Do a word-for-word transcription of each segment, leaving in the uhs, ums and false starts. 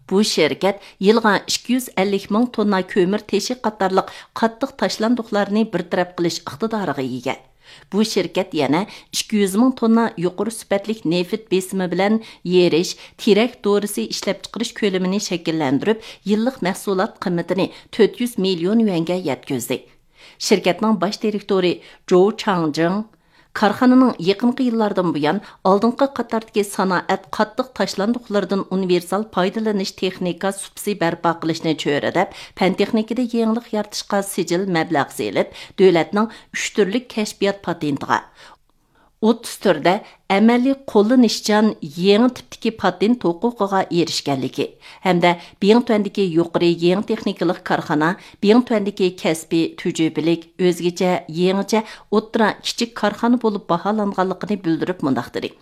بۇ شىركەت يىلىغا ئىككى يۈز ئەللىك مىڭ توننا كۆمۈر تېشى قاتارلىق قاتتىق تاشلاندۇقلارنى بىر تەرەپ قىلىش ئىقتىدارىغا ئىگە. بۇ شىركەت يەنە ئىككى يۈز مىڭ توننا يۇقىرى سۈپەتلىك نېفىت بېسىمى بىلەن يېرىش، تېرەك دورىسى ئىشلەپچىقىرىش كۆلىمىنى شەكىللەندۈرۈپ، يىللىق مەھسۇلات قىممىتىنى تۆت يۈز مىليون يۈەنگە يەتكۈزدى. شىركەتنىڭ باش دىرېكتورى جوۋ چاڭجىڭ كارخانىنىڭ يېقىنقى يىللاردىن بۇيان ئالدىنقى قاتاردىكى سانائەت قاتتىق تاشلاندۇقلىرىدىن ئۇنىۋېرسال پايدىلىنىش تېخنىكا سۇپىسى بەرپا قىلىشنى چۆرىدەپ، پەن تېخنىكىدا يېڭىلىق يارىتىشقا سىجىل مەبلەغ سېلىپ، دۆلەتنىڭ ئۈچ تۈرلۈك كەشپىيات پاتېنتىغا، ئوتتۇز تۈردە ئەمەلىي قوللىنىشچان يېڭى تىپتىكى پاتېنت ھوقۇقىغا ئېرىشكەنلىكى ھەمدە بىڭتۈەندىكى يۇقىرى يېڭى تېخنىكىلىق كارخانا، بىڭتۈەندىكى كەسپىي تۈجۈپىلىك ئۆزگىچە، يېڭىچە ئوتتۇرا، كىچىك كارخانا بولۇپ باھالانغانلىقىنى بىلدۈرۈپ مۇنداق دېدى: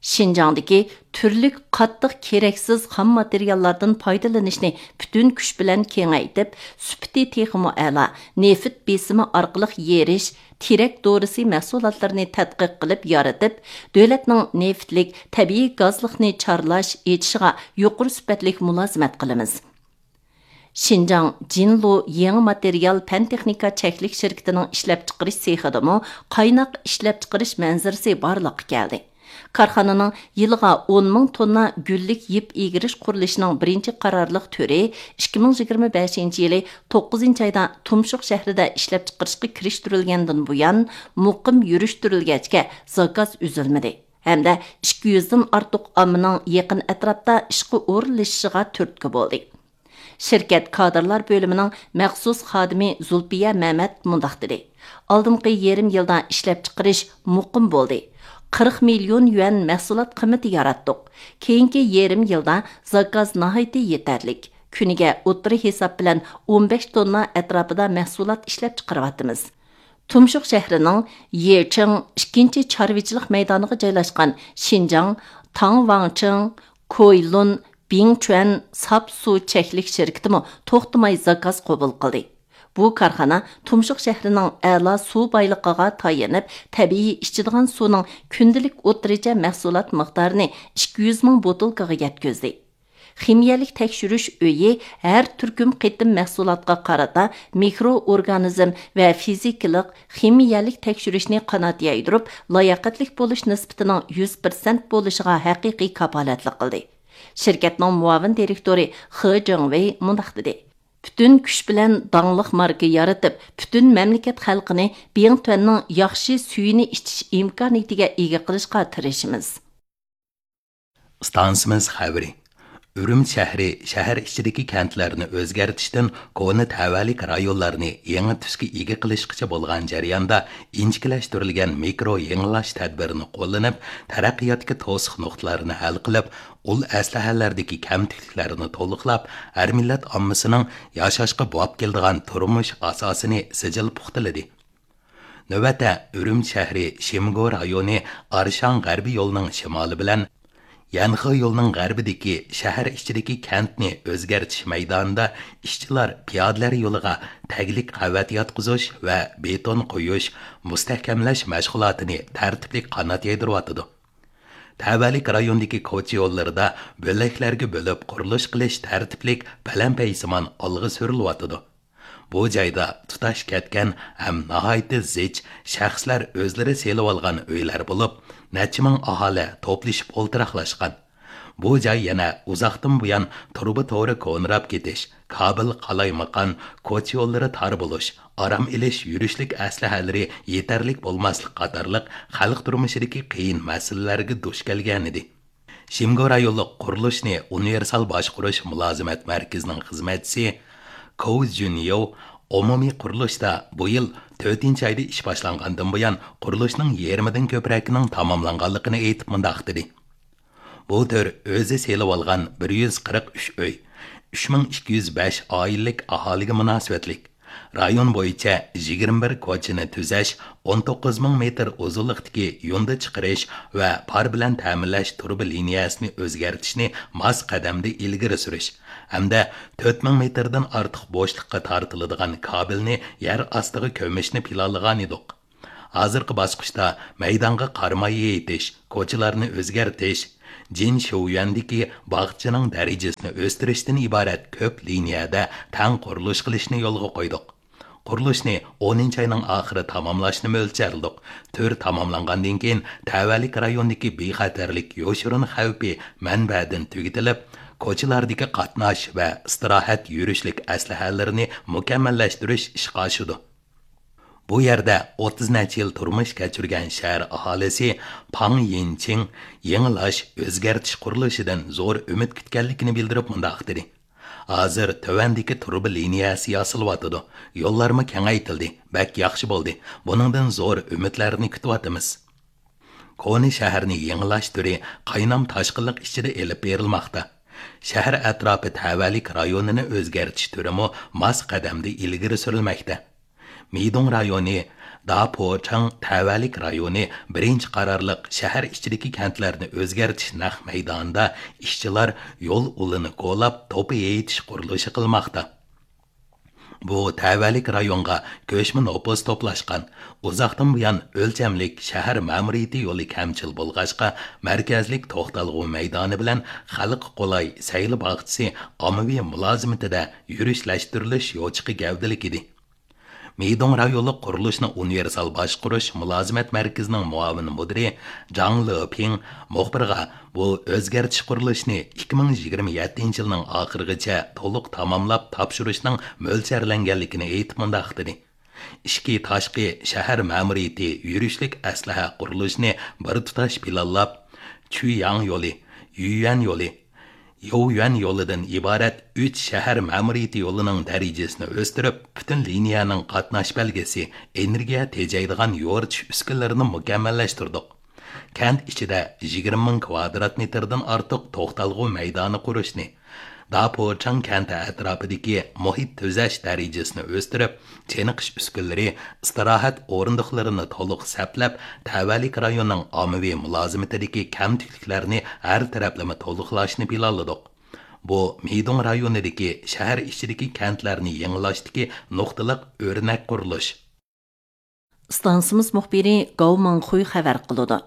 شىنجاڭدىكى تۈرلۈك قاتتىق كېرەكسىز خام ماتېرىياللاردىن پايدىلىنىشنى پۈتۈن كۈچ بىلەن كېڭەيتىپ، سۈپىتى تېخىمۇ ئەلا، نېفىت بېسىمى ئارقىلىق يېرىش، تېرەك دورىسى مەھسۇلاتلىرىنى تەتقىق قىلىپ يارىتىپ، دۆلەتنىڭ نېفىتلىك تەبىئىي گازلىقنى چارلاش، ئېچىشىغا يۇقىرى سۈپەتلىك مۇلازىمەت قىلىمىز. شىنجاڭ جىنلۇ يېڭى ماتېرىيال پەن تېخنىكا چەكلىك شىركىتىنىڭ ئىشلەپچىقىرىش سېخىدىمۇ قايناق ئىشلەپچىقىرىش مەنزىرىسى بارلىققا كەلدى. كارخانىنىڭ يىلىغا ئون مىڭ توننا گۈللۈك يىپ ئىگىرىش قۇرۇلۇشىنىڭ بىرىنچى قارارلىق تۈرى ئىككى مىڭ يىگىرمە بەشىنچى يىلى توققۇزىنچى ئايدا تۇمشۇق شەھىرىدە ئىشلەپچىقىرىشقا كىرىشتۈرۈلگەندىن بۇيان، مۇقىم يۈرۈشتۈرۈلگەچكە، زاكاز ئۈزۈلمىدى ھەمدە ئىككى يۈزدىن ئارتۇق ئاممىنىڭ يېقىن ئەتراپتا ئىشقا ئورۇنلىشىشىغا تۈرتكە بولدى. شىركەت كادىرلار بۆلۈمىنىڭ مەخسۇس خادىمى زۇلپىيە مەمەت مۇنداق دېدى: ئالدىنقى يېرىم يىلدا ئىشلەپچىقىرىش مۇقىم بولدى. قىرىق مىليون يۈەن مەھسۇلات قىممىتى ياراتتۇق. كېيىنكى يېرىم يىلدا زاكاز ناھايىتى يېتەرلىك. كۈنىگە ئوتتۇرا ھېساب بىلەن ئون بەش توننا ئەتراپىدا مەھسۇلات ئىشلەپچىقىرىۋاتىمىز. تۇمشۇق شەھىرىنىڭ يېچىڭ ئىككىنچى چارۋىچىلىق مەيدانىغا جايلاشقان شىنجاڭ تاڭۋاڭچىڭ كويلۇن بىڭچۈەن ساپ سۇ چەكلىك شىركىتىمۇ توختىماي زاكاز قوبۇل قىلدى. بۇ كارخانا تۇمشۇق شەھىرىنىڭ ئەلا سۇ بايلىقىغا تايىنىپ، تەبىئىي ئىچىدىغان سۇنىڭ كۈندىلىك ئوتتۇرىچە مەھسۇلات مىقدارىنى ئىككى يۈز مىڭ بوتۇلكىغا يەتكۈزدى. خىمىيەلىك تەكشۈرۈش ئۆيى ھەر تۈركۈم قېتىم مەھسۇلاتقا قارىتا مىكرو ئورگانىزم ۋە فىزىكىلىق، خىمىيەلىك تەكشۈرۈشنى قانات يايدۇرۇپ، لاياقەتلىك بولۇش نىسبىتىنىڭ يۈز پىرسەنت بولۇشىغا ھەقىقىي كاپالەتلىك قىلدى. شىركەتنىڭ مۇئاۋىن دىرېكتورى خې جېڭۋېي مۇنداق دېدى: پۈتۈن كۈچ بىلەن داڭلىق ماركا يارىتىپ، پۈتۈن مەملىكەت خەلقىنى بىڭتۈەننىڭ ياخشى سۈيىنى ئىچىش ئىمكانىيىتىگە ئىگە قىلىشقا تىرىشىمىز. ئىستانسىمىز خەۋىرى. ئۈرۈمچى شەھىرى شەھەر ئىچىدىكى كەنتلەرنى ئۆزگەرتىشتىن كونا تەۋەلىك رايونلارنى يېڭى تۈسكە ئىگە قىلىشقىچە بولغان جەرياندا، ئىنچىكىلەشتۈرۈلگەن مىكرو يېڭىلاش تەدبىرىنى قوللىنىپ، تەرەققىياتتىكى توسۇق نۇقتىلارنى ھەل قىلىپ، ئۇل ئەسلىھەلەردىكى كەمتۈكلۈكلەرنى تولۇقلاپ، ھەر مىللەت ئاممىسىنىڭ ياشاشقا بوۋاپ كېلىدىغان تۇرمۇش ئاساسىنى سىجىل پۇختىلىدى. نۆۋەتتە ئۈرۈمچى شەھىرى شىمگو رايونى ئارشاڭ غەربىي يولىنىڭ شىمالى بىلەن يەنخې يولىنىڭ غەربىدىكى شەھەر ئىچىدىكى كەنتنى ئۆزگەرتىش مەيدانىدا ئىشچىلار پىيادىلەر يولىغا تەگلىك قەۋەت ياتقۇزۇش ۋە بېتون قويۇش، مۇستەھكەملەش مەشغۇلاتىنى تەرتىپلىك قانات يايدۇرۇۋاتىدۇ. تەۋەلىك رايوندىكى كوچا يوللىرىدا بۆلەكلەرگە بۆلۈپ قۇرۇلۇش قىلىش تەرتىپلىك پەلەمپەيسىمان ئالغا سۈرۈلۈۋاتىدۇ. بۇ جايدا تۇتاش كەتكەن ھەم ناھايىتى زىچ شەخسلەر ئۆزلىرى سېلىۋالغان ئۆيلەر بولۇپ، نەچچە مىڭ ئاھالە توپلىشىپ ئولتۇراقلاشقان. بۇ جاي يەنە ئۇزاقتىن بۇيان تۇرۇبا تورى كونىراپ كېتىش، كابېل قالايمىقان، كوچا يوللىرى تار بولۇش، ئارام ئېلىش، يۈرۈشلۈك ئەسلىھەلىرى يېتەرلىك بولماسلىق قاتارلىق خەلق تۇرمۇشىدىكى قىيىن مەسىلىلەرگە دۇچ كەلگەنىدى. شىمگو رايونلۇق قۇرۇلۇشنى ئۇنىۋېرسال باشقۇرۇش مۇلازىمەت مەركىزىنىڭ خىزمەتچىسى كوۋ جۈنيو ئومۇمىي قۇرۇلۇشتا بۇ يىل تۆتىنچى ئايدا ئىش باشلانغاندىن بۇيان قۇرۇلۇشنىڭ يېرىمىدىن كۆپرەكنىڭ تاماملانغانلىقىنى ئېيتىپ مۇنداق دېدى: بۇ تۈر ئۆزى سېلىۋالغان بىر يۈز قىرىق ئۈچ ئۆي، ئۈچ مىڭ ئىككى يۈز بەش ئائىلىلىك ئاھالىگە مۇناسىۋەتلىك. رايون بويىچە يىگىرمە بىر كوچىنى تۈزەش، ئون توققۇز مىڭ مېتىر ئۇزۇنلۇقتىكى يۇندى چىقىرىش ۋە پار بىلەن تەمىنلەش تۇرۇبا لىنىيەسىنى ئۆزگەرتىشنى ماس قەدەمدە ئىلگىرى سۈرۈش ھەمدە تۆت مىڭ مېتىردىن ئارتۇق بوشلۇققا تارتىلىدىغان كابېلنى يەر ئاستىغا كۆمۈشنى پىلانلىغانىدۇق. ھازىرقى باسقۇچتا مەيدانغا قارا ماي يېيىتىش، كوچىلارنى ئۆزگەرتىش، جىن شيۇيۈەندىكى باغچىنىڭ دەرىجىسىنى ئۆستۈرۈشتىن ئىبارەت كۆپ لىنىيەدە تەڭ قۇرۇلۇش قىلىشنى يولغا قويدۇق. قۇرۇلۇشنى ئونىنچى ئاينىڭ ئاخىرى تاماملاشنى مۆلچەرلىدۇق. تۈر تاماملانغاندىن كېيىن، تەۋەلىك رايوندىكى بىخەتەرلىك يوشۇرۇن خەۋپى مەنبەدىن تۈگىتىلىپ، كوچىلاردىكى قاتناش ۋە ئىستىراھەت يۈرۈشلۈك ئەسلىھەلىرىنى مۇكەممەللەشتۈرۈش ئىشقا ئاشىدۇ. بۇ يەردە ئوتتۇز نەچچە يىل تۇرمۇش كەچۈرگەن شەھەر ئاھالىسى پاڭ يىنچىڭ يېڭىلاش، ئۆزگەرتىش قۇرۇلۇشىدىن زور ئۈمىد كۈتكەنلىكىنى بىلدۈرۈپ مۇنداق دېدى: «ھازىر تۆۋەندىكى تۇرۇبا لىنىيەسى ياسىلىۋاتىدۇ. يوللارمۇ كېڭەيتىلدى، بەك ياخشى بولدى. بۇنىڭدىن زور ئۈمىدلەرنى كۈتۈۋاتىمىز.» كونا شەھەرنى يېڭىلاش تۈرى قاينام تاشقىنلىق ئىچىدە ئېلىپ بېرىلماقتا. شەھەر ئەتراپى تەۋەلىك رايونىنى ئۆزگەرتىش تۈرىمۇ ماس قەدەمدە ئىلگىرى سۈرۈلمەكتە. مىدۇڭ رايونى، داپوچاڭ تەۋەلىك رايونى بىرىنچى قارارلىق شەھەر ئىچىدىكى كەنتلەرنى ئۆزگەرتىش نەق مەيدانىدا ئىشچىلار يول ئۇلىنى كولاپ، توپا يېيىتىش قۇرۇلۇشى قىلماقتا. بۇ تەۋەلىك رايونغا كۆچمە نوپۇس توپلاشقان، ئۇزاقتىن بۇيان ئۆلچەملىك شەھەر مەمۇرىيىتى يولى كەمچىل بولغاچقا، مەركەزلىك توختالغۇ مەيدانى بىلەن خەلققە قولاي سەيلە باغچىسى ئاممىۋى مۇلازىمىتىدە يۈرۈشلەشتۈرۈلۈش يوچۇقى گەۋدىلىك ئىدى. مىدۇڭ رايونلۇق قۇرۇلۇشنى ئۇنىۋېرسال باشقۇرۇش مۇلازىمەت مەركىزىنىڭ مۇئاۋىن مۇدىرى جاڭ لېپىڭ مۇخبىرغا، بۇ ئۆزگەرتىش قۇرۇلۇشنى ئىككى مىڭ يىگىرمە يەتتىنچى يىلنىڭ ئاخىرىغىچە تولۇق تاماملاپ تاپشۇرۇشنىڭ مۆلچەرلەنگەنلىكىنى ئېيتىپ مۇنداق دېدى: «ئىچكى، تاشقى شەھەر مەمۇرىيىتى يۈرۈشلۈك ئەسلىھە قۇرۇلۇشىنى بىر تۇتاش پىلانلاپ، چۈيياڭ يولى، يۈيۈەن يولى، يوۋيۈەن يولىدىن ئىبارەت ئۈچ شەھەر مەمۇرىيىتى يولىنىڭ دەرىجىسىنى ئۆستۈرۈپ، پۈتۈن لىنىيەنىڭ قاتناش بەلگىسى، ئېنېرگىيە تېجەيدىغان يورۇتۇش ئۈسكۈنىلىرىنى مۇكەممەللەشتۈردۇق. كەنت ئىچىدە يىگىرمە مىڭ كىۋادرات مېتىردىن ئارتۇق توختالغۇ مەيدانى قۇرۇشنى، داپوچاڭ كەنتى ئەتراپىدىكى مۇھىت تۈزەش دەرىجىسىنى ئۆستۈرۈپ، چېنىقىش ئۈسكۈنىلىرى، ئىستىراھەت ئورۇندۇقلىرىنى تولۇق سەپلەپ، تەۋەلىك رايوننىڭ ئاممىۋى مۇلازىمىتىدىكى كەمتۈكلۈكلەرنى ھەر تەرەپلىمە تولۇقلاشنى پىلانلىدۇق. بۇ مىدۇڭ رايونىدىكى شەھەر ئىچىدىكى كەنتلەرنى يېڭىلاشتىكى نۇقتىلىق ئۆرنەك قۇرۇلۇش.» ئىستانسىمىز مۇخبىرى گاۋ مىڭخۇي خەۋەر قىلىدۇ.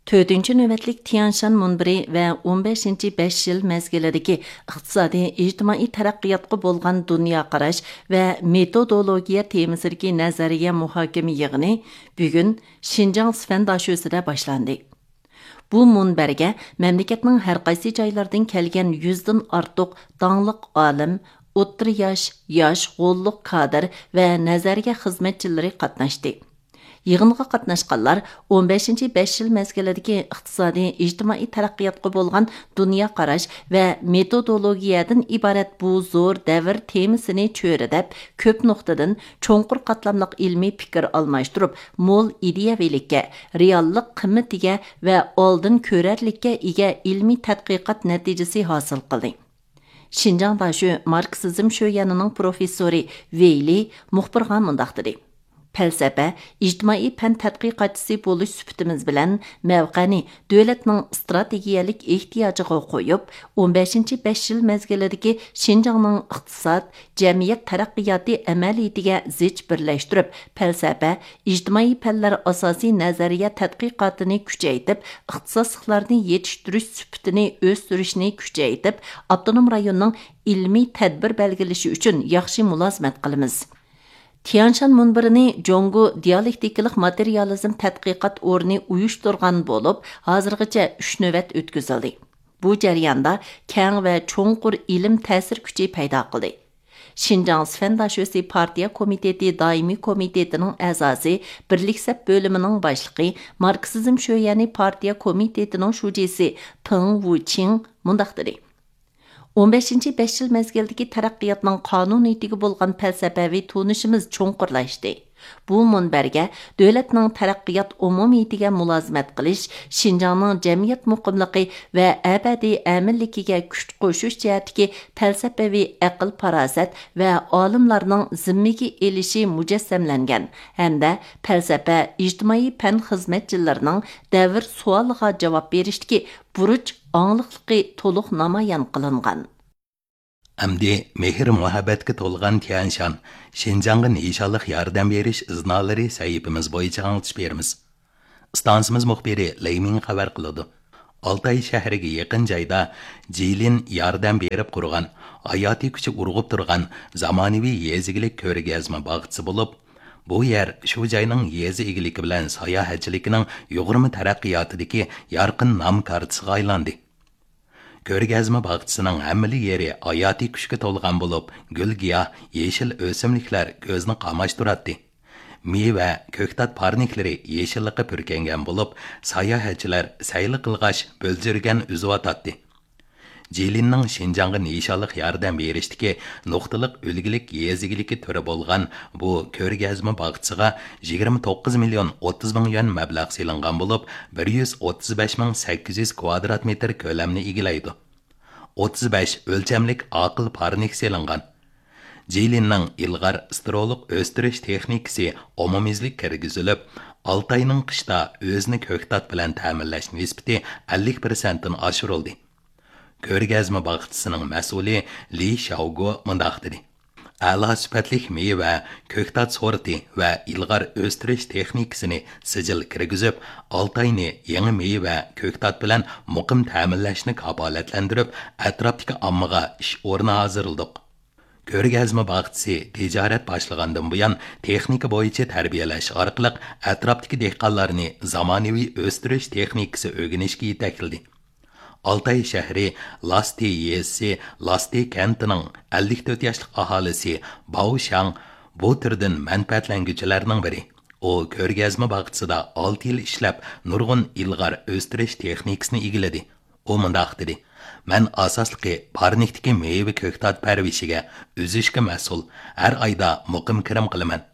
تۆتىنچى نۆۋەتلىك تيەنشان مۇنبىرى ۋە ئون بەشىنچى بەش يىل مەزگىلىدىكى ئىقتىسادىي، ئىجتىمائىي تەرەققىياتقا بولغان دۇنيا قاراش ۋە مېتودولوگىيە تېمىسىدىكى نەزەرىيە مۇھاكىمە يىغىنى بۈگۈن شىنجاڭ سىفەن داشۆسىدە باشلاندى. بۇ مۇنبەرگە مەملىكەتنىڭ ھەر قايسى جايلىرىدىن كەلگەن يۈزدىن ئارتۇق داڭلىق ئالىم، ئوتتۇرا ياش، ياش، غوللۇق كادىر ۋە نەزەرىيە خىزمەتچىلىرى قاتناشتى. يىغىنغا قاتناشقانلار ئون بەشىنچى بەش يىل مەزگىلىدىكى ئىقتىسادىي، ئىجتىمائىي تەرەققىياتقا بولغان دۇنيا قاراش ۋە مېتودولوگىيەدىن ئىبارەت بۇ زور دەۋر تېمىسىنى چۆرىدەپ، كۆپ نۇقتىدىن چوڭقۇر قاتلاملىق ئىلمىي پىكىر ئالماشتۇرۇپ، مول ئىدىيەۋىلىككە، رېئاللىق قىممىتىگە ۋە ئالدىن كۆرەرلىككە ئىگە ئىلمىي تەتقىقات نەتىجىسى ھاسىل قىلدى. شىنجاڭ داشۆ ماركسىزم شۆيەنىنىڭ پروفېسسورى ۋېي لى مۇخبىرغا مۇنداق دېدى: «پەلسەپە، ئىجتىمائىي پەن تەتقىقاتچىسى بولۇش سۈپىتىمىز بىلەن مەۋقەنى دۆلەتنىڭ ئىستراتېگىيەلىك ئېھتىياجىغا قويۇپ، ئون بەشىنچى بەش يىل مەزگىلىدىكى شىنجاڭنىڭ ئىقتىساد، جەمئىيەت تەرەققىياتى ئەمەلىيىتىگە زىچ بىرلەشتۈرۈپ، پەلسەپە، ئىجتىمائىي پەنلەر ئاساسىي نەزەرىيە تەتقىقاتىنى كۈچەيتىپ، ئىختىساسلىقلارنى يېتىشتۈرۈش سۈپىتىنى ئۆستۈرۈشنى كۈچەيتىپ، ئاپتونوم رايوننىڭ ئىلمىي تەدبىر بەلگىلىشى ئۈچۈن ياخشى مۇلازىمەت قىلىمىز.» تيەنشان مۇنبىرىنى جۇڭگو دىيالېكتىكىلىق ماتېرىيالىزم تەتقىقات ئورنى ئۇيۇشتۇرغان بولۇپ، ھازىرغىچە ئۈچ نۆۋەت ئۆتكۈزۈلدى. بۇ جەرياندا كەڭ ۋە چوڭقۇر ئىلىم تەسىر كۈچى پەيدا قىلدى. شىنجاڭ سىفەن داشۆسى پارتىيە كومىتېتى دائىمىي كومىتېتىنىڭ ئەزاسى، بىرلىك سەپ بۆلۈمىنىڭ باشلىقى، ماركسىزم شۆيەنى پارتىيە كومىتېتىنىڭ شۇجىسى پېڭ ۋۇچىڭ مۇنداق دېدى: «ئون بەشىنچى بەش يىل مەزگىلدىكى تەرەققىياتنىڭ قانۇنىيىتىگە بولغان پەلسەپەۋى تونۇشىمىز چوڭقۇرلاشتى. بۇ مۇنبەرگە دۆلەتنىڭ تەرەققىيات ئومۇمىيىتىگە مۇلازىمەت قىلىش، شىنجاڭنىڭ جەمئىيەت مۇقىملىقى ۋە ئەبەدىي ئەمىنلىكىگە كۈچ قوشۇش جەھەتتىكى پەلسەپىۋى ئەقىل-پاراسەت ۋە ئالىملارنىڭ زىممىگە ئېلىشى مۇجەسسەملەنگەن ھەمدە پەلسەپە، ئىجتىمائىي پەن خىزمەتچىلىرىنىڭ دەۋر سوئالىغا جاۋاب بېرىشتىكى بۇرچ ئاڭلىقلىقى تولۇق نامايان قىلىنغان.» ئەمدى مېھىر-مۇھەببەتكە تولغان تيەنشان، شىنجاڭغا نىشانلىق ياردەم بېرىش ئىزنالىرى سەھىپىمىز بويىچە ئاڭلىتىش بېرىمىز. ئىستانسىمىز مۇخبىرى لېي مىڭ خەۋەر قىلىدۇ. ئالتاي شەھىرىگە يېقىن جايدا جىلىن ياردەم بېرىپ قۇرغان، ھاياتىي كۈچى ئۇرغۇپ تۇرغان زامانىۋى يېزا ئىگىلىك كۆرگەزمە باغچىسى بولۇپ، بۇ يەر شۇ جاينىڭ يېزا ئىگىلىكى بىلەن ساياھەتچىلىكىنىڭ يۇغۇرما تەرەققىياتىدىكى يارقىن نام كارتىسىغا ئايلاندى. كۆرگەزمە باغچىسىنىڭ ھەممىلا يېرى ھاياتىي كۈچكە تولغان بولۇپ، گۈل-گىياھ، يېشىل ئۆسۈملۈكلەر كۆزنى قاماشتۇراتتى. مېۋە، كۆكتات پارنىكلىرى يېشىللىققا پۈركەنگەن بولۇپ، ساياھەتچىلەر سەيلە قىلغاچ بۆلجۈرگەن ئۈزۈۋاتاتتى. جىلىننىڭ شىنجاڭغا نىشانلىق ياردەم بېرىشتىكى نۇقتىلىق ئۈلگىلىك يېزا ئىگىلىكى تۈرى بولغان بۇ كۆرگەزمە باغچىسىغا يىگىرمە توققۇز مىليون ئوتتۇز مىڭ يۈەن مەبلەغ سېلىنغان بولۇپ، بىر يۈز ئوتتۇز بەش مىڭ سەككىز يۈز كۋادرات مېتىر كۆلەمنى ئىگىلەيدۇ. ئوتتۇز بەش ئۆلچەملىك ئاقىل پارنىك سېلىنغان. جىلىننىڭ ئىلغار سترولۇق ئۆستۈرۈش تېخنىكىسى ئومۇميۈزلۈك كىرگۈزۈلۈپ، ئالتاينىڭ قىشتا ئۆزىنى كۆكتات بىلەن تەمىنلەش نىسبىتى ئەللىك پىرسەنتتىن ئاشۇرۇلدى. كۆرگەزمە باغچىسىنىڭ مەسئۇلى لى شياۋگو مۇنداق دېدى: ئەلا سۈپەتلىك مېۋە، كۆكتات سورتى ۋە ئىلغار ئۆستۈرۈش تېخنىكىسىنى سىجىل كىرگۈزۈپ، ئالتاينى يېڭى مېۋە، كۆكتات بىلەن مۇقىم تەمىنلەشنى كاپالەتلەندۈرۈپ، ئەتراپتىكى ئاممىغا ئىش ئورنى ھازىرلىدۇق. كۆرگەزمە باغچىسى تىجارەت باشلىغاندىن بۇيان، تېخنىكا بويىچە تەربىيەلەش ئارقىلىق ئەتراپتىكى دېھقانلارنى زامانىۋى ئۆستۈرۈش تېخنىكىسى ئۆگىنىشكە يېتەكلىدى. ئالتاي شەھىرى لاسدى يېزىسى لاسدى كەنتىنىڭ ئەللىك تۆت ياشلىق ئاھالىسى باۋ شاڭ بۇ تۈردىن مەنپەئەتلەنگۈچىلەرنىڭ بىرى. ئۇ كۆرگەزمە باغچىسىدا ئالتە يىل ئىشلەپ، نۇرغۇن ئىلغار ئۆستۈرۈش تېخنىكىسىنى ئىگىلىدى. ئۇ مۇنداق دېدى: مەن ئاساسلىقى پارنىكتىكى مېۋە كۆكتات پەرۋىشىگە، ئۈزۈشكە مەسئۇل، ھەر ئايدا مۇقىم كىرىم قىلىمەن.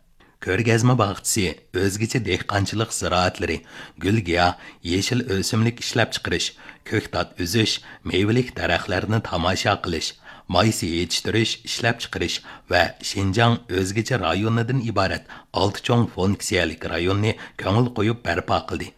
كۆرگەزمە باغچىسى ئۆزگىچە دېھقانچىلىق زىرائەتلىرى، گۈل-گىياھ، يېشىل ئۆسۈملۈك ئىشلەپچىقىرىش، كۆكتات ئۈزۈش، مېۋىلىك دەرەخلەرنى تاماشا قىلىش، مايسا يېتىشتۈرۈش، ئىشلەپچىقىرىش ۋە شىنجاڭ ئۆزگىچە رايونىدىن ئىبارەت ئالتە چوڭ فۇنكسىيەلىك رايوننى كۆڭۈل قويۇپ بەرپا قىلدى.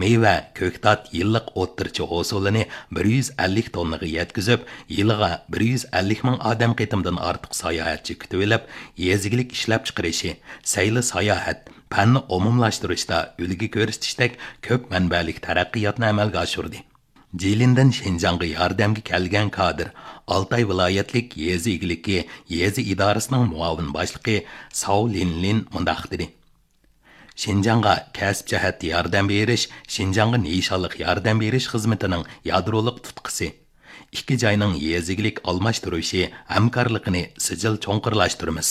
مېۋە، كۆكتات يىللىق ئوتتۇرىچە ھوسۇلىنى بىر يۈز ئەللىك توننىغا يەتكۈزۈپ، يىلىغا بىر يۈز ئەللىك مىڭ ئادەم قېتىمدىن ئارتۇق ساياھەتچى كۈتۈۋېلىپ، يېزا ئىگىلىك ئىشلەپچىقىرىشى، سەيلە ساياھەت، پەننى ئومۇملاشتۇرۇشتا ئۈلگە كۆرسىتىشتەك كۆپ مەنبەلىك تەرەققىياتنى ئەمەلگە ئاشۇردى. جىلىندىن شىنجاڭغا ياردەمگە كەلگەن كادىر، ئالتاي ۋىلايەتلىك يېزا ئىگىلىكى يېزا ئىدارىسىنىڭ مۇئاۋىن باشلىقى ساۋ لىنلىن مۇنداق دېدى: شىنجاڭغا كەسىپ جەھەتتە ياردەم بېرىش شىنجاڭغا نىشانلىق ياردەم بېرىش خىزمىتىنىڭ يادرولۇق تۇتقىسى. ئىككى جاينىڭ يېزا ئىگىلىك ئالماشتۇرۇشى، ھەمكارلىقىنى سىجىل چوڭقۇرلاشتۇرىمىز.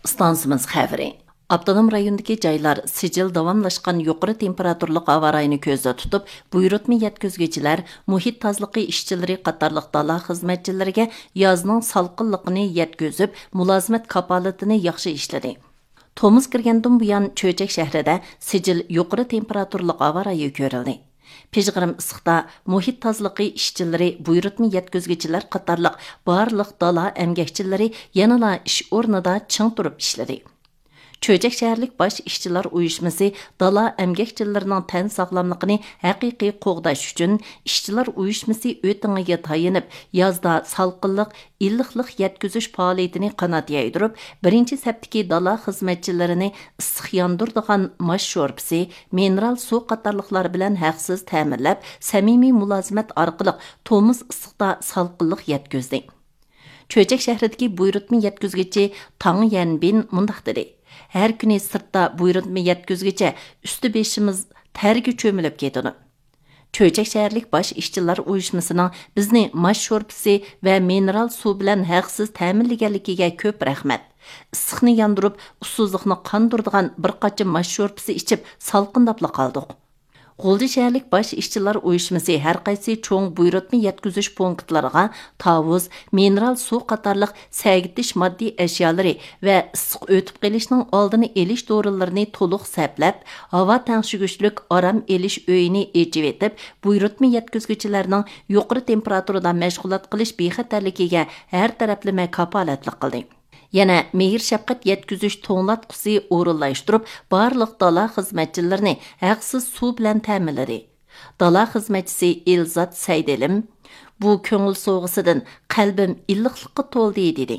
ئىستانسىمىز خەۋىرى. ئاپتونوم رايوندىكى جايلار سىجىل داۋاملاشقان يۇقىرى تېمپېراتۇرىلىق ھاۋا رايىنى كۆزدە تۇتۇپ، بۇيرۇتما يەتكۈزگۈچىلەر، مۇھىت تازىلىقى ئىشچىلىرى قاتارلىق دالا خىزمەتچىلىرىگە يازنىڭ سالقىنلىقىنى يەتكۈزۈپ، مۇلازىمەت كاپالىتىنى ياخشى ئىشلىدى. تومۇز كىرگەندىن بۇيان، چۆچەك شەھىرىدە سىجىل يۇقىرى تېمپېراتۇرىلىق ھاۋا رايى كۆرۈلدى. پىژغىرىم ئىسسىقتا مۇھىت تازىلىقى ئىشچىلىرى، بۇيرۇتما يەتكۈزگۈچىلەر قاتارلىق بارلىق دالا ئەمگەكچىلىرى يەنىلا ئىش ئورنىدا چىڭ تۇرۇپ ئىشلىدى. چۆچەك شەھەرلىك باش ئىشچىلار ئۇيۇشمىسى دالا ئەمگەكچىلىرىنىڭ تەن ساغلاملىقىنى ھەقىقىي قوغداش ئۈچۈن، ئىشچىلار ئۇيۇشمىسى ئۆتىڭىگە تايىنىپ، يازدا سالقىنلىق، ئىللىقلىق يەتكۈزۈش پائالىيىتىنى قانات يايدۇرۇپ، بىرىنچى سەپتىكى دالا خىزمەتچىلىرىنى ئىسسىق ياندۇرىدىغان ماش شورپىسى، مىنېرال سۇ قاتارلىقلار بىلەن ھەقسىز تەمىنلەپ، سەمىمىي مۇلازىمەت ئارقىلىق تومۇز ئىسسىقتا سالقىنلىق يەتكۈزدى. چۆچەك شەھىرىدىكى بۇيرۇتما يەتكۈزگۈچى تاڭ يەنبىن مۇنداق دېدى: ھەر كۈنى سىرتتا بۇيرۇتما يەتكۈزگۈچە ئۈستى بېشىمىز تەرگە چۆمۈلۈپ كېتىدۇ. چۆچەك شەھەرلىك باش ئىشچىلار ئۇيۇشمىسىنىڭ بىزنى ماش شورپىسى ۋە مىنېرال سۇ بىلەن ھەقسىز تەمىنلىگەنلىكىگە كۆپ رەھمەت. ئىسسىقنى ياندۇرۇپ، ئۇسسۇزلۇقنى قاندۇرىدىغان بىر قاچا ماش شورپىسى ئىچىپ، سالقىنداپلا قالدۇق. غۇلجا شەھەرلىك باش ئىشچىلار ئۇيۇشمىسى ھەر قايسى چوڭ بۇيرۇتما يەتكۈزۈش پونكىتلىرىغا تاۋۇز، مىنېرال سۇ قاتارلىق سەگىتىش ماددىي ئەشيالىرى ۋە ئىسسىق ئۆتۈپ قېلىشنىڭ ئالدىنى ئېلىش دورىلىرىنى تولۇق سەپلەپ، ھاۋا تەڭشىگۈچلۈك ئارام ئېلىش ئۆيىنى ئېچىۋېتىپ، بۇيرۇتما يەتكۈزگۈچىلەرنىڭ يۇقىرى تېمپېراتۇرىدا مەشغۇلات قىلىش بىخەتەرلىكىگە ھەر تەرەپلىمە كاپالەتلىك قىلدى. يەنە مېھىر-شەپقەت يەتكۈزۈش توڭلاتقۇسى ئورۇنلاشتۇرۇپ، بارلىق دالا خىزمەتچىلىرىنى ھەقسىز سۇ بىلەن تەمىنلىدى. دالا خىزمەتچىسى ئېلزات سەيدىلىم: بۇ كۆڭۈل سوۋغىسىدىن قەلبىم ئىللىقلىققا تولدى، دېدى.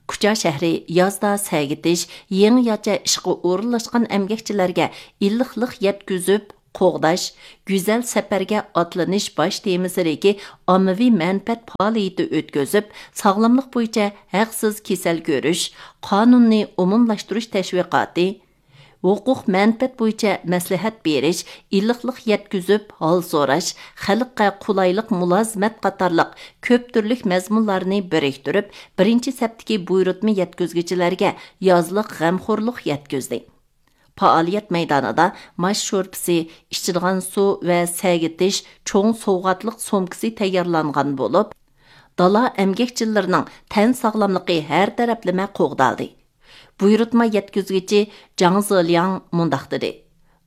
كۇچا شەھىرى يازدا سەگىتىش، يېڭىچە ئىشقا ئورۇنلاشقان ئەمگەكچىلەرگە ئىللىقلىق يەتكۈزۈپ، قوغداش، گۈزەل سەپەرگە ئاتلىنىش باش تېمىسىدىكى ئاممىۋى مەنپەئەت پائالىيىتى ئۆتكۈزۈپ، ساغلاملىق بويىچە ھەقسىز كېسەل كۆرۈش، قانۇننى ئومۇملاشتۇرۇش تەشۋىقاتى، ھوقۇق مەنپەئەت بويىچە مەسلىھەت بېرىش، ئىللىقلىق يەتكۈزۈپ ھال سوراش، خەلققە قولايلىق مۇلازىمەت قاتارلىق كۆپ تۈرلۈك مەزمۇنلارنى بىرىكتۈرۈپ، بىرىنچى سەپتىكى بۇيرۇتما يەتكۈزگۈچىلەرگە يازلىق غەمخورلۇق يەتكۈزدى. پائالىيەت مەيدانىدا ماش شورپىسى، ئىچىدىغان سۇ ۋە سەگىتىش چوڭ سوۋغاتلىق سومكىسى تەييارلانغان بولۇپ، دالا ئەمگەكچىلىرىنىڭ تەن ساغلاملىقى ھەر تەرەپلىمە قوغدالدى. بۇيرۇتما يەتكۈزگۈچى جاڭ زېلياڭ مۇنداق دېدى: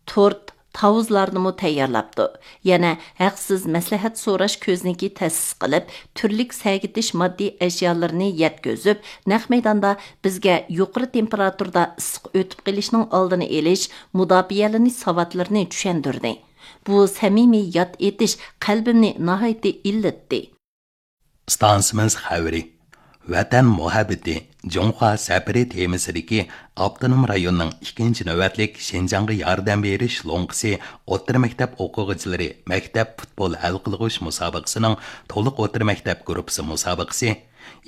تورت، تاۋۇزلارنىمۇ تەييارلاپتۇ. يەنە ھەقسىز مەسلىھەت سوراش كۆزنىكى تەسىس قىلىپ، تۈرلۈك سەگىتىش ماددىي ئەشيالىرىنى يەتكۈزۈپ، نەق مەيداندا بىزگە يۇقىرى تېمپېراتۇرىدا ئىسسىق ئۆتۈپ قېلىشنىڭ ئالدىنى ئېلىش، مۇداپىئەلىنىش ساۋاتلىرىنى چۈشەندۈردى. بۇ سەمىمىي ياد ئېتىش قەلبىمنى ناھايىتى ئىللىتتى. ئىستانسىمىز خەۋىرى. ۋەتەن مۇھەببىتى، جۇڭخۇا سەپىرى تېمىسىدىكى ئاپتونوم رايوننىڭ ئىككىنچى نۆۋەتلىك شىنجاڭغا ياردەم بېرىش لوڭقىسى ئوتتۇرا مەكتەپ ئوقۇغۇچىلىرى مەكتەپ پۇتبول ھەل قىلغۇچ مۇسابىقىسىنىڭ تولۇق ئوتتۇرا مەكتەپ گۇرۇپپىسى مۇسابىقىسى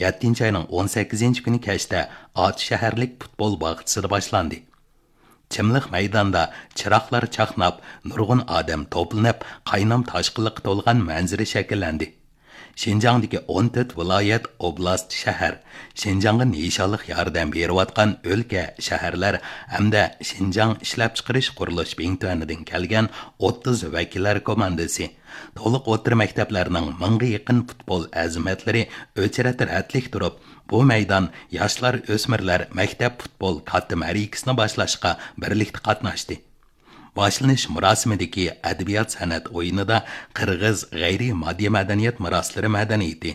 يەتتىنچى ئاينىڭ ئون سەككىزىنچى كۈنى كەچتە ئاتۇش شەھەرلىك پۇتبول باغچىسىدا باشلاندى. چىملىق مەيداندا چىراغلار چاقناپ، نۇرغۇن ئادەم توپلىنىپ، قاينام تاشقىنلىققا تولغان مەنزىرە شەكىللەندى. شىنجاڭدىكى ئون تۆت ۋىلايەت، ئوبلاست، شەھەر، شىنجاڭغا نىشانلىق ياردەم بېرىۋاتقان ئۆلكە، شەھەرلەر ھەمدە شىنجاڭ ئىشلەپچىقىرىش قۇرۇلۇش بىڭتۈەنىدىن كەلگەن ئوتتۇز ۋەكىللەر كوماندىسى، تولۇق ئوتتۇرا مەكتەپلەرنىڭ مىڭغا يېقىن پۇتبول ئەزىمەتلىرى ئۆچرەت رەتلىك تۇرۇپ، بۇ مەيدان ياشلار، ئۆسمۈرلەر مەكتەپ پۇتبول كاتتا مەرىكىسىنى باشلاشقا بىرلىكتە قاتناشتى. باشلىنىش مۇراسىمىدىكى ئەدەبىيات سەنئەت ئويۇنىدا قىرغىز غەيرىي ماددىي مەدەنىيەت مىراسلىرى مەدەنىيىتى،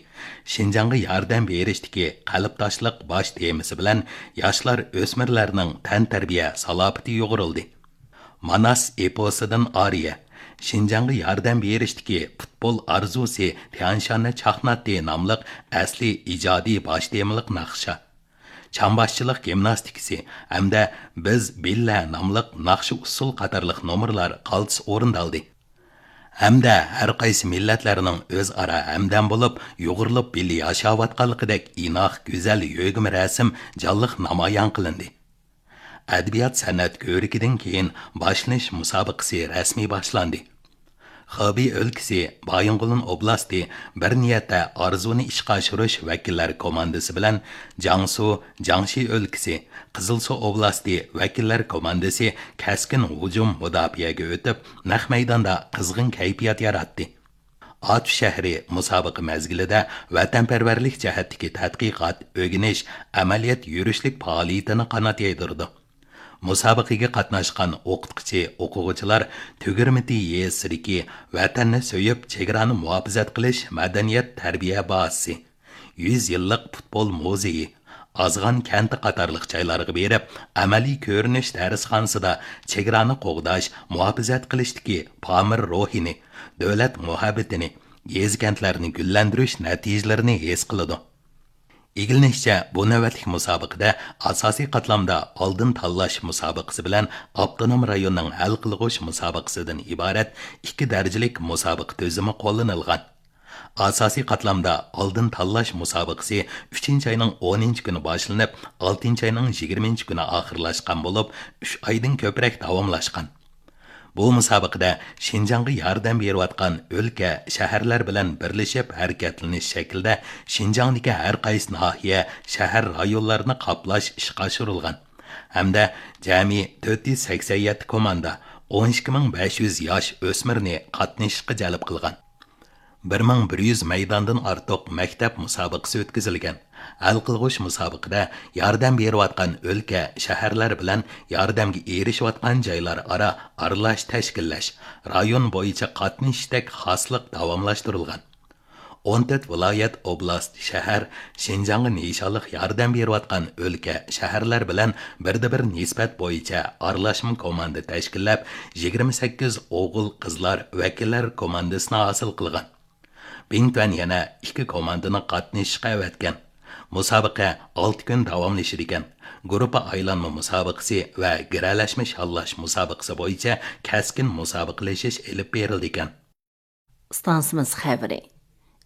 شىنجاڭغا ياردەم بېرىشتىكى قەلبداشلىق باش تېمىسى بىلەن ياشلار، ئۆسمۈرلەرنىڭ تەنتەربىيە سالاپىتى يۇغۇرۇلدى. ماناس ئېپوسىدىن ئارىيە، شىنجاڭغا ياردەم بېرىشتىكى پۇتبول ئارزۇسى تيەنشاننى چاقناتتى ناملىق ئەسلىي ئىجادىي باش تېمىلىق ناخشا، چامباشچىلىق گىمناستىكىسى ھەمدە بىز بىللە ناملىق ناخشا ئۇسسۇل قاتارلىق نومۇرلار قالتىس ئورۇندالدى. ھەمدە ھەر قايسى مىللەتلەرنىڭ ئۆزئارا ھەمدەم بولۇپ، يۇغۇرۇلۇپ بىللە ياشاۋاتقانلىقىدەك ئىناق، گۈزەل يۆگىمە رەسىم جانلىق نامايان قىلىندى. ئەدەبىيات سەنئەت كۆرىكىدىن كېيىن باشلىنىش مۇسابىقىسى رەسمىي باشلاندى. خېبېي ئۆلكىسى، بايىنغولىن ئوبلاستى، بىر نىيەتتە ئارزۇنى ئىشقا ئاشۇرۇش ۋەكىللەر كوماندىسى بىلەن جياڭسۇ، جياڭشى ئۆلكىسى، قىزىلسۇ ئوبلاستى ۋەكىللەر كوماندىسى كەسكىن ھۇجۇم مۇداپىئەگە ئۆتۈپ، نەق مەيداندا قىزغىن كەيپىيات ياراتتى. ئاتۇش شەھىرى مۇسابىقە مەزگىلىدە ۋەتەنپەرۋەرلىك جەھەتتىكى تەتقىقات، ئۆگىنىش، ئەمەلىيەت يۈرۈشلۈك پائالىيىتىنى قانات يايدۇرىدۇ. مۇسابىقىگە قاتناشقان ئوقۇتقۇچى، ئوقۇغۇچىلار تۈگۈرمىتى يېزىسىدىكى ۋەتەننى سۆيۈپ، چېگرانى مۇھاپىزەت قىلىش مەدەنىيەت تەربىيە بازىسى، يۈز يىللىق پۇتبول مۇزېيى، ئازغان كەنتى قاتارلىق جايلارغا بېرىپ، ئەمەلىي كۆرۈنۈش دەرسخانىسىدا چېگرانى قوغداش، مۇھاپىزەت قىلىشتىكى پامىر روھىنى، دۆلەت مۇھەببىتىنى، يېزا-كەنتلەرنى گۈللەندۈرۈش نەتىجىلىرىنى ھېس قىلىدۇ. ئىگىلىنىشىچە، بۇ نۆۋەتلىك مۇسابىقىدە ئاساسىي قاتلامدا ئالدىن تاللاش مۇسابىقىسى بىلەن ئاپتونوم رايوننىڭ ھەل قىلغۇچ مۇسابىقىسىدىن ئىبارەت ئىككى دەرىجىلىك مۇسابىقە تۈزۈمى قوللىنىلغان. ئاساسىي قاتلامدا ئالدىن تاللاش مۇسابىقىسى ئۈچىنچى ئاينىڭ ئونىنچى كۈنى باشلىنىپ، ئالتىنچى ئاينىڭ يىگىرمىنچى كۈنى ئاخىرلاشقان بولۇپ، ئۈچ ئايدىن كۆپرەك داۋاملاشقان. بۇ مۇسابىقىدە شىنجاڭغا ياردەم بېرىۋاتقان ئۆلكە، شەھەرلەر بىلەن بىرلىشىپ ھەرىكەتلىنىش شەكلىدە شىنجاڭدىكى ھەر قايسى ناھىيە، شەھەر، رايونلارنى قاپلاش ئىشقا ئاشۇرۇلغان ھەمدە جەمئىي تۆت يۈز سەكسەن يەتتە كوماندا، ئون ئىككى مىڭ بەش يۈز ياش ئۆسمۈرنى قاتنىشىشقا جەلپ قىلغان. بىر مىڭ بىر يۈز مەيداندىن ئارتۇق مەكتەپ مۇسابىقىسى ئۆتكۈزۈلگەن. ھەل قىلغۇچ مۇسابىقىدە ياردەم بېرىۋاتقان ئۆلكە، شەھەرلەر بىلەن ياردەمگە ئېرىشىۋاتقان جايلار ئارا ئارىلاش تەشكىللەش، رايون بويىچە قاتنىشىشتەك خاسلىق داۋاملاشتۇرۇلغان. ئون تۆت ۋىلايەت، ئوبلاست، شەھەر شىنجاڭغا نىشانلىق ياردەم بېرىۋاتقان ئۆلكە، شەھەرلەر بىلەن بىردە بىر نىسبەت بويىچە ئارىلاشما كوماندا تەشكىللەپ، يىگىرمە سەككىز ئوغۇل، قىزلار ۋەكىللەر كوماندىسىنى ھاسىل قىلغان. بىڭتۈەن يەنە ئىككى كوماندىنى قاتنىشىشقا ئەۋەتكەن. مۇسابىقە ئالتە كۈن داۋاملىشىدىكەن. گۇرۇپپا ئايلانما مۇسابىقىسى ۋە گىرەلەشمە شاللاش مۇسابىقىسى بويىچە كەسكىن مۇسابىقىلىشىش ئېلىپ بېرىلىدىكەن. ئىستانسىمىز خەۋىرى.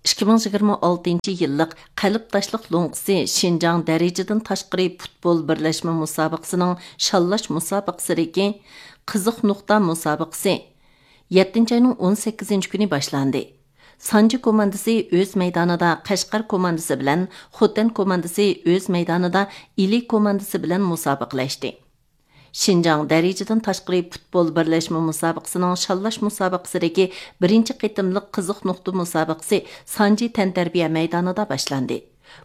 ئىككى مىڭ يىگىرمە ئالتىنچى يىللىق قەلب تاشلىق لوڭقىسى شىنجاڭ دەرىجىدىن تاشقىرى پۇتبول بىرلەشمە مۇسابىقىسىنىڭ شاللاش مۇسابىقىسىدىكى قىزىق نۇقتا مۇسابىقىسى يەتتىنچى ئاينىڭ ئون سەككىزىنچى كۈنى باشلاندى. سانجى كوماندىسى ئۆز مەيدانىدا قەشقەر كوماندىسى بىلەن، خوتەن كوماندىسى ئۆز مەيدانىدا ئىلى كوماندىسى بىلەن مۇسابىقىلەشتى. شىنجاڭ دەرىجىدىن تاشقىرى پۇتبول بىرلەشمە مۇسابىقىسىنىڭ شاللاش مۇسابىقىسىدىكى بىرىنچى قېتىملىق قىزىق نۇقتا مۇسابىقىسى سانجى تەنتەربىيە مەيدانىدا باشلاندى.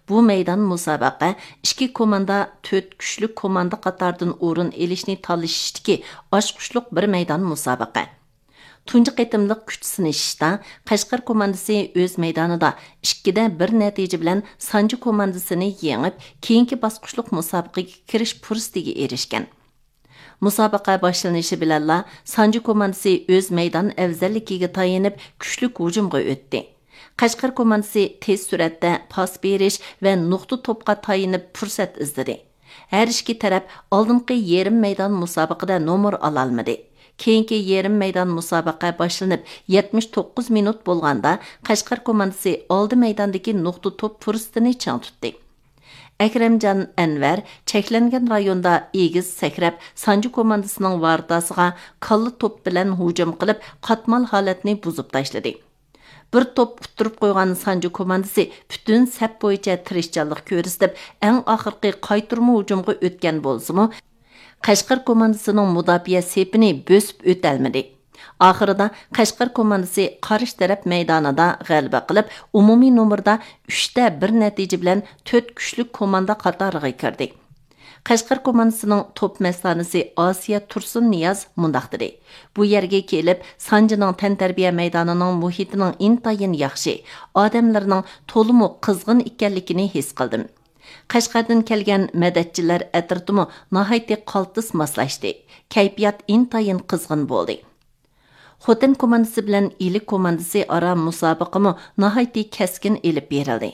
بۇ مەيدان مۇسابىقە ئىككى كوماندا تۆت كۈچلۈك كوماندا قاتارىدىن ئورۇن ئېلىشنى تالىشىشتىكى ئاچقۇچلۇق بىر مەيدان مۇسابىقە. تۇنجى قېتىملىق كۈچ سىنىشىشتا قەشقەر كوماندىسى ئۆز مەيدانىدا ئىككىدە بىر نەتىجە بىلەن سانجى كوماندىسىنى يېڭىپ، كېيىنكى باسقۇچلۇق مۇسابىقىگە كىرىش پۇرسىتىگە ئېرىشكەن. مۇسابىقە باشلىنىشى بىلەنلا سانجى كوماندىسى ئۆز مەيدان ئەۋزەللىكىگە تايىنىپ كۈچلۈك ھۇجۇمغا ئۆتتى. قەشقەر كوماندىسى تېز سۈرئەتتە پاس بېرىش ۋە نۇقتا توپقا تايىنىپ پۇرسەت ئىزدىدى. ھەر ئىككى تەرەپ ئالدىنقى يېرىم مەيدان مۇسابىقىدە نومۇر ئالالمىدى. كېيىنكى يېرىم مەيدان مۇسابىقە باشلىنىپ يەتمىش توققۇز مىنۇت بولغاندا، قەشقەر كوماندىسى ئالدى مەيداندىكى نۇقتا توپ پۇرسىتىنى چىڭ تۇتتى. ئەكرەمجان ئەنۋەر چەكلەنگەن رايوندا ئېگىز سەكرەپ، سانجى كوماندىسىنىڭ ۋارتاسىغا كاللا توپ بىلەن ھۇجۇم قىلىپ، قاتمال ھالەتنى بۇزۇپ تاشلىدى. بىر توپ ئۇتتۇرۇپ قويغان سانجى كوماندىسى پۈتۈن سەپ بويىچە تىرىشچانلىق كۆرسىتىپ، ئەڭ ئاخىرقى قايتۇرما ھۇجۇمغا ئۆتكەن بولسىمۇ، قەشقەر كوماندىسىنىڭ مۇداپىئە سېپىنى بۆسۈپ ئۆتەلمىدى. ئاخىرىدا قەشقەر كوماندىسى قارشى تەرەپ مەيدانىدا غەلىبە قىلىپ، ئومۇمىي نومۇردا ئۈچتە بىر نەتىجە بىلەن تۆت كۈچلۈك كوماندا قاتارىغا كىردى. قەشقەر كوماندىسىنىڭ توپ مەستانىسى ئاسىيە تۇرسۇننىياز مۇنداق دېدى: بۇ يەرگە كېلىپ، سانجىنىڭ تەنتەربىيە مەيدانىنىڭ مۇھىتىنىڭ ئىنتايىن ياخشى، ئادەملىرىنىڭ تولىمۇ قىزغىن ئىكەنلىكىنى ھېس قىلدىم. قەشقەردىن كەلگەن مەدەتچىلەر ئەترىتىمۇ ناھايىتى قالتىس ماسلاشتى. كەيپىيات ئىنتايىن قىزغىن بولدى. خوتەن كوماندىسى بىلەن ئىلى كوماندىسى ئارا مۇسابىقىمۇ ناھايىتى كەسكىن ئېلىپ بېرىلدى.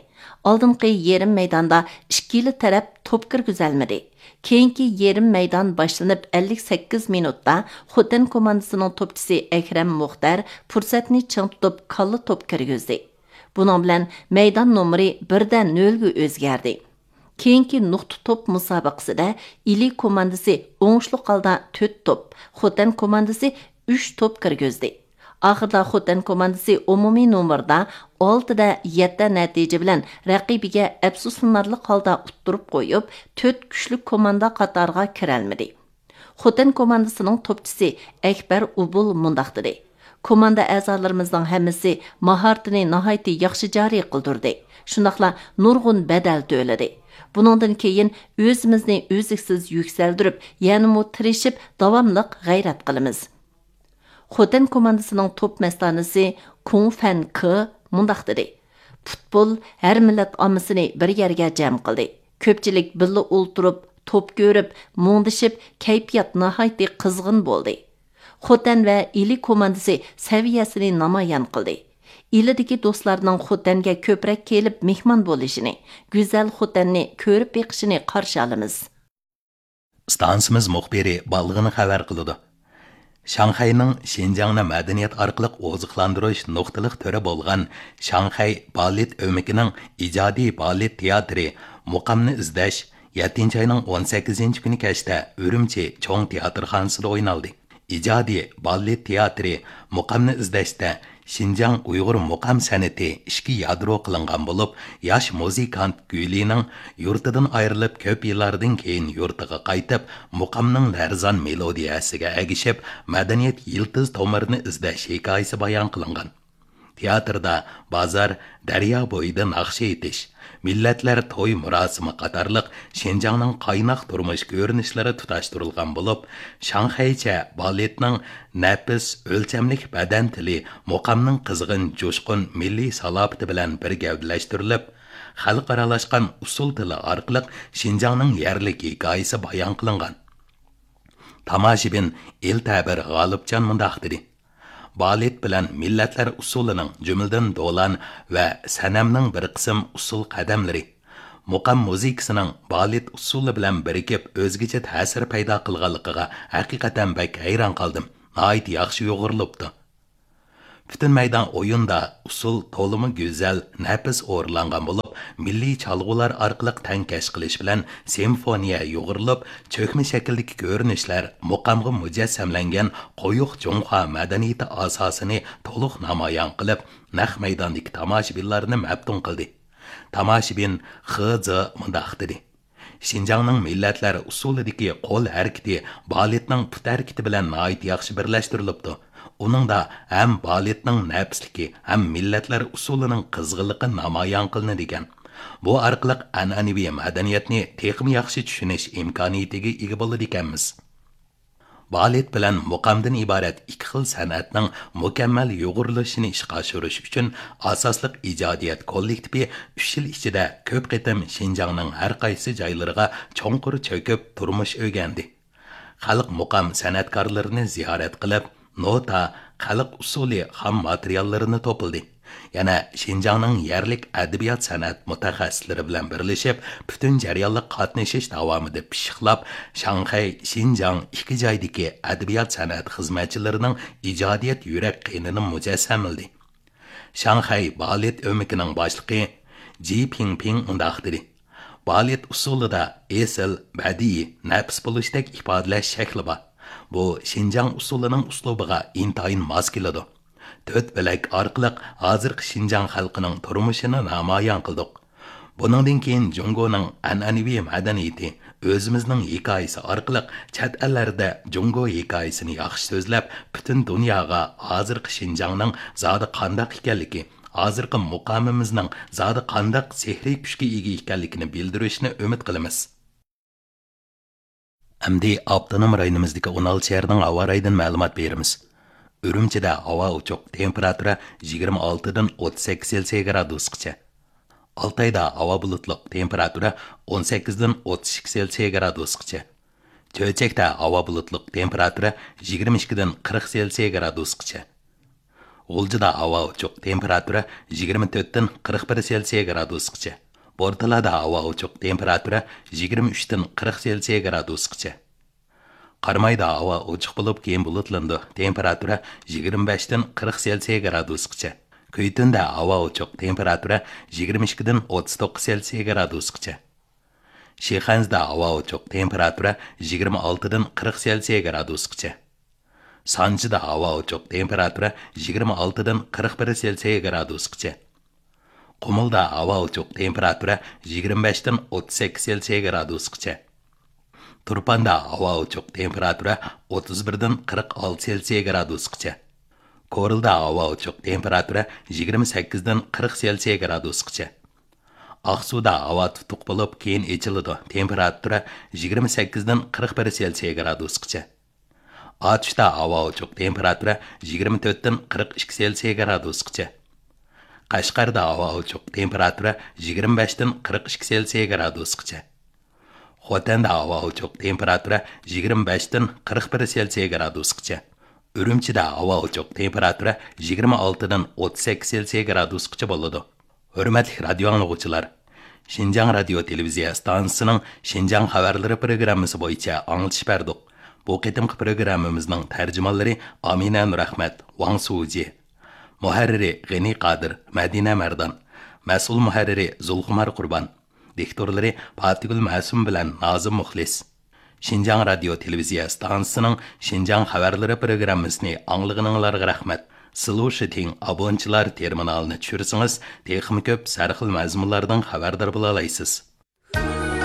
ئالدىنقى يېرىم مەيداندا ئىككىلا تەرەپ توپ كىرگۈزەلمىدى. كېيىنكى يېرىم مەيدان باشلىنىپ ئەللىك سەككىز مىنۇتتا خوتەن كوماندىسىنىڭ توپچىسى ئەكرەم مۇختەر پۇرسەتنى چىڭ تۇتۇپ كاللا توپ كىرگۈزدى. بۇنىڭ بىلەن مەيدان نومۇرى بىردە نۆلگە ئۆزگەردى. كېيىنكى نۇقتا توپ مۇسابىقىسىدە ئىلى كوماندىسى ئوڭۇشلۇق ھالدا تۆت توپ، خوتەن كوماندىسى ئۈچ توپ كىرگۈزدى. ئاخىرىدا خوتەن كوماندىسى ئومۇمىي نومۇردا ئالتىدە يەتتە نەتىجە بىلەن رەقىبىگە ئەپسۇسلىنارلىق ھالدا ئۇتتۇرۇپ قويۇپ، تۆت كۈچلۈك كوماندا قاتارىغا كىرەلمىدى. خوتەن كوماندىسىنىڭ توپچىسى ئەكبەر ئۇبۇل مۇنداق دېدى: كوماندا ئەزالىرىمىزنىڭ ھەممىسى ماھارىتىنى ناھايىتى ياخشى جارى قىلدۇردى. شۇنداقلا نۇرغۇن بەدەل تۆلىدى. بۇنىڭدىن كېيىن ئۆزىمىزنى ئۈزلۈكسىز يۈكسەلدۈرۈپ، يەنىمۇ تىرىشىپ، داۋاملىق غەيرەت قىلىمىز. خوتەن كوماندىسىنىڭ توپ مەستانىسى كۇڭ فەن كې مۇنداق دېدى: پۇتبول ھەر مىللەت ئاممىسىنى بىر يەرگە جەم قىلدى. كۆپچىلىك بىللە ئولتۇرۇپ، توپ كۆرۈپ، مۇڭدىشىپ، كەيپىيات ناھايىتى قىزغىن بولدى. خوتەن ۋە ئىلى كوماندىسى سەۋىيەسىنى نامايان قىلدى. ئىلىدىكى دوستلارنىڭ خوتەنگە كۆپرەك كېلىپ مېھمان بولۇشىنى، گۈزەل خوتەننى كۆرۈپ بېقىشىنى قارشى ئالىمىز. ئىستانسىمىز مۇخبىرى بالغىنى خەۋەر قىلىدۇ. شاڭخەينىڭ شىنجاڭنى مەدەنىيەت ئارقىلىق ئوزۇقلاندۇرۇش نۇقتىلىق تۈرى بولغان شاڭخەي بالېت ئۆمىكىنىڭ ئىجادىي بالېت تىياتىرى مۇقامنى ئىزدەش يەتتىنچى ئاينىڭ ئون سەككىزىنچى كۈنى كەچتە ئۈرۈمچى چوڭ تىياتىرخانىسىدا ئوينالدى. ئىجادىي بالېت تىياتىرى مۇقامنى ئىزدەشتە شىنجاڭ ئۇيغۇر مۇقام سەنئىتى ئىككى يادرو قىلىنغان بولۇپ، ياش مۇزىكانت گۈلىنىڭ يۇرتىدىن ئايرىلىپ كۆپ يىللاردىن كېيىن يۇرتىغا قايتىپ، مۇقامنىڭ لەرزان مېلودىيەسىگە ئەگىشىپ، مەدەنىيەت يىلتىز تومۇرىنى ئىزدەش ھېكايىسى بايان قىلىنغان. تىياتىردا بازار، دەريا بويىدا ناخشا ئېيتىش، مىللەتلەر توي مۇراسىمى قاتارلىق شىنجاڭنىڭ قايناق تۇرمۇش كۆرۈنۈشلىرى تۇتاشتۇرۇلغان بولۇپ، شاڭخەيچە بالېتنىڭ نەپىس، ئۆلچەملىك بەدەن تىلى مۇقامنىڭ قىزغىن، جۇشقۇن مىللىي سالاپىتى بىلەن بىر گەۋدىلەشتۈرۈلۈپ، خەلقئارالاشقان ئۇسسۇل تىلى ئارقىلىق شىنجاڭنىڭ يەرلىك ھېكايىسى بايان قىلىنغان. تاماشىبىن ئېلتەبىر غالىپجان مۇنداق دېدى: بالېت بىلەن مىللەتلەر ئۇسسۇلىنىڭ، جۈملىدىن دولان ۋە سەنەمنىڭ بىر قىسىم ئۇسسۇل قەدەملىرى، مۇقام مۇزىكىسىنىڭ بالېت ئۇسسۇلى بىلەن بىرىكىپ ئۆزگىچە تەسىر پەيدا قىلغانلىقىغا ھەقىقەتەن بەك ھەيران قالدىم. ناھايىتى ياخشى يۇغۇرۇلۇپتۇ. پۈتۈن مەيدان ئويۇندا ئۇسسۇل تولىمۇ گۈزەل، نەپىس ئورۇنلانغان بولۇپ، مىللىي چالغۇلار ئارقىلىق تەڭكەش قىلىش بىلەن سىمفونىيە يۇغۇرۇلۇپ، چۆكمە شەكىلدىكى كۆرۈنۈشلەر مۇقامغا مۇجەسسەملەنگەن قويۇق جۇڭخۇا مەدەنىيىتى ئاساسىنى تولۇق نامايان قىلىپ، نەق مەيداندىكى تاماشىبىنلارنى مەپتۇن قىلدى. تاماشىبىن خې زې مۇنداق دېدى: شىنجاڭنىڭ مىللەتلەر ئۇسسۇلىدىكى قول ھەرىكىتى بالېتنىڭ پۇت ھەرىكىتى بىلەن ناھايىتى ياخشى بىرلەشتۈرۈلۈپتۇ. ئۇنىڭدا ھەم بالېتنىڭ نەپىسلىكى، ھەم مىللەتلەر ئۇسسۇلىنىڭ قىزغىنلىقى نامايان قىلىنىدىكەن. بۇ ئارقىلىق ئەنئەنىۋى مەدەنىيەتنى تېخىمۇ ياخشى چۈشىنىش ئىمكانىيىتىگە ئىگە بولىدىكەنمىز. بالېت بىلەن مۇقامدىن ئىبارەت ئىككى خىل سەنئەتنىڭ مۇكەممەل يۇغۇرۇلۇشىنى ئىشقا ئاشۇرۇش ئۈچۈن ئاساسلىق ئىجادىيەت كوللېكتىپى ئۈچ يىل ئىچىدە كۆپ قېتىم شىنجاڭنىڭ ھەر قايسى جايلىرىغا چوڭقۇر چۆكۈپ تۇرمۇش ئۆگەندى. خەلق مۇقام سەنئەتكارلىرىنى زىيارەت قىلىپ، نوتا، خەلق ئۇسسۇلى خام ماتېرىياللىرىنى توپلىدى. يەنە شىنجاڭنىڭ يەرلىك ئەدەبىيات سەنئەت مۇتەخەسسىسلىرى بىلەن بىرلىشىپ، پۈتۈن جەريانلىق قاتنىشىش داۋامىدا پىششىقلاپ، شاڭخەي، شىنجاڭ ئىككى جايدىكى ئەدەبىيات سەنئەت خىزمەتچىلىرىنىڭ ئىجادىيەت يۈرەك قېنىنى مۇجەسسەملىدى. شاڭخەي بالېت ئۆمىكىنىڭ باشلىقى جى پىڭپىڭ مۇنداق دېدى: بالېت ئۇسسۇلىدا ئېسىل، بەدىئىي، نەپىس بولۇشتەك ئىپادىلەش شەكلى بار. بۇ شىنجاڭ ئۇسسۇلىنىڭ ئۇسلۇبىغا ئىنتايىن ماس كېلىدۇ. تۆت بۆلەك ئارقىلىق ھازىرقى شىنجاڭ خەلقىنىڭ تۇرمۇشىنى نامايان قىلدۇق. بۇنىڭدىن كېيىن جۇڭگونىڭ ئەنئەنىۋى مەدەنىيىتى، ئۆزىمىزنىڭ ھېكايىسى ئارقىلىق چەت ئەللەردە جۇڭگو ھېكايىسىنى ياخشى سۆزلەپ، پۈتۈن دۇنياغا ھازىرقى شىنجاڭنىڭ زادى قانداق ئىكەنلىكى، ھازىرقى مۇقامىمىزنىڭ زادى قانداق سېھرىي كۈچكە ئىگە ئىكەنلىكىنى بىلدۈرۈشنى ئۈمىد قىلىمىز. ئەمدى ئاپتونوم رايونىمىزدىكى ئون ئالتە شەھەرنىڭ ھاۋا رايىدىن مەلۇمات بېرىمىز. ئۈرۈمچىدە ھاۋا ئوچۇق، تېمپېراتۇرا يىگىرمە ئالتىدىن ئوتتۇز سەككىز سېلسىيە گرادۇسقىچە. ئالتايدا ھاۋا بۇلۇتلۇق، تېمپېراتۇرا ئون سەككىزدىن ئوتتۇز ئىككى سېلسىيە گرادۇسقىچە. چۆچەكتە ھاۋا بۇلۇتلۇق، تېمپېراتۇرا يىگىرمە ئىككىدىن قىرىق سېلسىيە گرادۇسقىچە. غۇلجىدا ھاۋا ئوچۇق، تېمپېراتۇرا يىگىرمە تۆتتىن قىرىق بىر سېلسىيە گرادۇسقىچە. بورتالادا ھاۋا ئوچۇق، تېمپېراتۇرا يىگىرمە ئۈچتىن قىرىق سېلسىيە گرادۇسقىچە. قارامايدا ھاۋا ئوچۇق بولۇپ، كېيىن بۇلۇتلىنىدۇ، تېمپېراتۇرا يىگىرمە بەشتىن قىرىق سېلسىيە گرادۇسقىچە. كۈيتۈندە ھاۋا ئوچۇق، تېمپېراتۇرا يىگىرمە ئىككىدىن ئوتتۇز توققۇز سېلسىيە گرادۇسقىچە. شىخەنزىدە ھاۋا ئوچۇق، تېمپېراتۇرا يىگىرمە ئالتىدىن قىرىق سېلسىيە گرادۇسقىچە. سانجىدا ھاۋا ئوچۇق، تېمپېراتۇرا يىگىرمە ئالتىدىن قىرىق بىر سېلسىيە گرادۇسقىچە. قۇمۇلدا ھاۋا ئوچۇق، تېمپېراتۇرا يىگىرمە بەشتىن ئوتتۇز سەككىز سېلسىيە گرادۇسقىچە. تۇرپاندا ھاۋا ئوچۇق، تېمپېراتۇرا ئوتتۇز بىردىن قىرىق ئالتە سېلسىيە گرادۇسقىچە. كورلىدا ھاۋا ئوچۇق، تېمپېراتۇرا يىگىرمە سەككىزدىن قىرىق سېلسىيە گرادۇسقىچە. ئاقسۇدا ھاۋا تۇتۇق بولۇپ، كېيىن ئېچىلىدۇ، تېمپېراتۇرا يىگىرمە سەككىزدىن قىرىق بىر سېلسىيە گرادۇسقىچە. ئاتۇشتا ھاۋا ئوچۇق، تېمپېراتۇرا يىگىرمە تۆتتىن قىرىق ئىككى سېلسىيە گرادۇسقىچە. قەشقەردە ھاۋا ئوچۇق، تېمپېراتۇرا يىگىرمە بەشتىن قىرىق ئىككى سېلسىيە گرادۇسقىچە. خوتەندە ھاۋا ئوچۇق، تېمپېراتۇرا يىگىرمە بەشتىن قىرىق بىر سېلسىيە گرادۇسقىچە. ئۈرۈمچىدە ھاۋا ئوچۇق، تېمپېراتۇرا يىگىرمە ئالتىدىن ئوتتۇز سەككىز سېلسىيە گرادۇسقىچە بولىدۇ. ھۆرمەتلىك رادىيو ئاڭلىغۇچىلار! شىنجاڭ رادىيو تېلېۋىزىيە ئىستانسىسىنىڭ شىنجاڭ خەۋەرلىرى پروگراممىسى بويىچە ئاڭلىتىش بەردۇق. بۇ قېتىمقى پروگراممىمىزنىڭ تەرجىمانلىرى ئامىنە نۇرئەخمەت، ۋاڭ سۇجى. مۇھەررىرى غېنى قادىر، مەدىنە مەردان. مەسئۇل مۇھەررىرى زۇلخۇمار قۇربان. دىكتورلىرى پاتىگۈل مەسۇم بىلەن نازىم مۇخلىس. شىنجاڭ رادىيو تېلېۋىزىيە ئىستانسىسىنىڭ شىنجاڭ خەۋەرلىرى پروگراممىسىنى ئاڭلىغىنىڭلارغا رەھمەت. سىلۇشىتىڭ ئابونچىلار تېرمىنالىنى چۈشۈرسىڭىز، تېخىمۇ كۆپ سەرخىل مەزمۇنلاردىن خەۋەردار بولالايسىز.